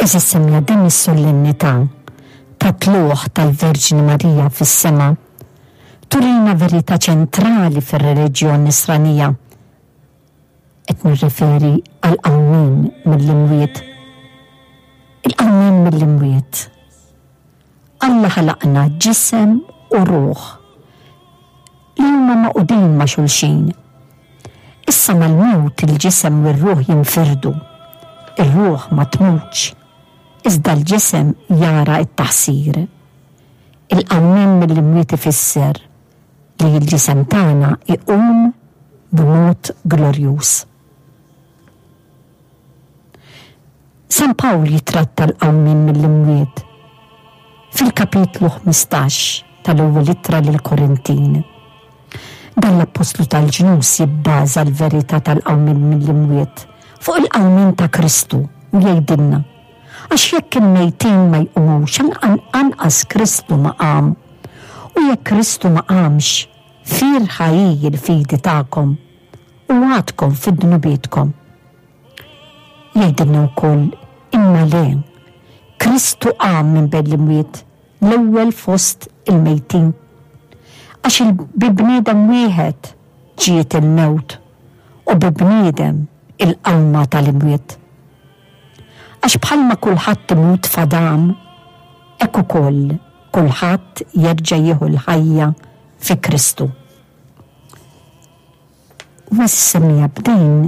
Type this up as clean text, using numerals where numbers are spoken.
Għeżież semmiegħa din is-solennità tat-tlugħ tal-Verġni Marija fis-sema turina verità ċentrali fir-reliġjon Nisranija. Qed nirreferi għall-qawmien mill-imwiet. Il-qawmien mill-imwiet. Alla ħalaqna ġisem u ruħ li huma magħqudin ma' xulxin. Issa mal-mewt il-ġisem u r-ruħ jinfirdu. Ir-ruħ ma tmutx, iżda l-ġisem jara t-taħsir. Il-qawmien mill-imwiet ifisser li l-ġisem tagħna jqum b'mod glorjuż. San Pawl jittratta l-qawmien mill-imwiet fil-kapitlu 15 tal-Ewwel Ittra lill-Korintin. Dan l-appostlu tal-ġnus jibbaża l-verità tal-qawmien mill-imwiet fuq il-qawmien ta' Kristu u jgħidilna, Għax jekk il-mejtin ma jqumux, anqas Kristu ma qam. U jekk Kristu ma qamx, fierħa hi l-fidi tagħkom, u għadkom fi dnubietkom. Jgħidilna wkoll, Imma le, Kristu qam minn bejn l-imwiet, l-ewwel fost il-mejtin. Għax bi bniedem wieħed ġiet il-mewt, u bi bniedem il-qawma tal-imwiet. Għax bħalma kulħadd imut f'Adam, hekk ukoll kulħadd jerġa' jieħu l-ħajja fi Kristu. U għażiż semmiegħa b'din.